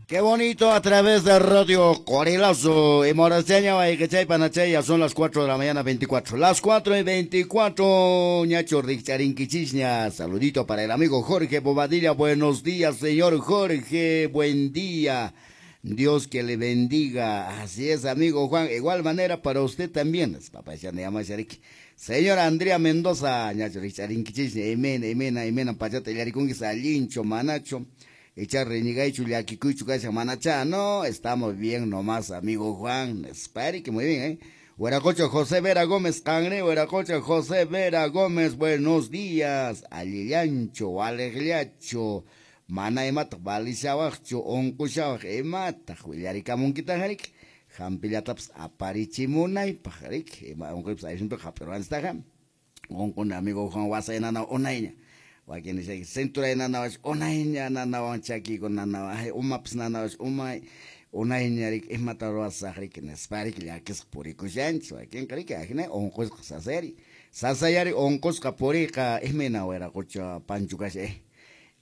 Qué bonito a través de Radio Corilazo y Moraseña, ya son las 4 de la mañana 24. Las 4:24, ñacho Richarinquichisña. Saludito para el amigo Jorge Bobadilla. Buenos días, señor Jorge. Buen día. Dios que le bendiga. Así es, amigo Juan. Igual manera para usted también. Papá, ya me llama Señora Andrea Mendoza, ñacho Richarinquichisña. Emena, emena, emena, pachata, yarikunguis, alincho, manacho. Echar renigaichu, llakikuychu, kasha manacha. No, estamos bien nomás, amigo Juan. Espere que muy bien, ¿eh? Hueracocha José Vera Gómez, Cangre, Hueracocha José Vera Gómez, buenos días. Alillancho, alegliacho, mana imata, balishawajcho, onkushawaj, imata, willarikamunkita, jarik. Jampillatapas aparichimunaypaj, jarik. Ima onkoypas aysunto japiruanstaja. Onkun amigo Juan wasaynana unayña. Wakin nishay cintura nanawash unayña nanawan chakiyku nanawan ay umapas nanawash umay unayña riki imata ruwasaq riki nispa riki llakisqa purikushanchis wakinqa riki ajina unqusqa sasayari sasayari unqusqa puriyqa imayna wiraqucha Pancho kasha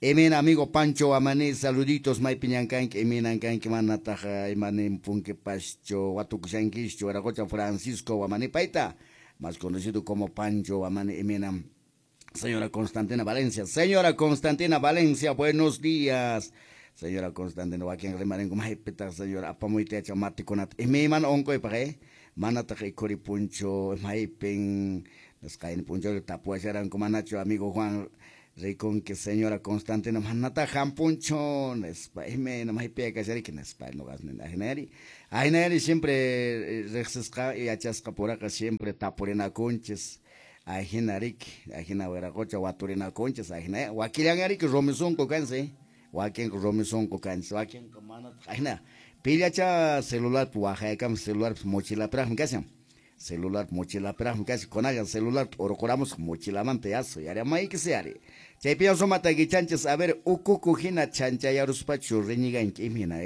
imayna amigo Pancho Amaní, saluditos maypi ñankanki imaynan kanki manataq imaninpunkipaschu watukushankischu wiraqucha Francisco Wamani payta más conocido como Pancho Wamani imayna. Señora Constantina Valencia, señora Constantina Valencia, buenos días. Señora Constantina, wakin rimarinko maypitaq señora apamuyta yacha matikunata. Imayman unquypaq, manataq ikhuripunchu, maypin nisqayni punchawlla tapuwasharanku manachu amigo Juan rikunki señora Constantina manataq hampunchu nispa imayna maypiya kashariki nispa nuqas nini ajinari. Ajinari siempre riqsisqa yachasqa puraqa siempre tapurinakunchis. Ajina riki, ajina wiraqucha waturinakunchis, ajina wakillan riki rumi sunqu kansi, wakinqa rumi sunqu kanchis, wakinqa manataq ajina pillacha celularpi waqaykamus celularpis mochilapiraqmi kashan, celular mochilapiraqmi kashan, kunallan celular urquramusaq mochilamanta yasu yarimayki yari. Chaypiña sumata kichanchis, a ver, ukuku hina chanchayaruspachu riñiganki imina,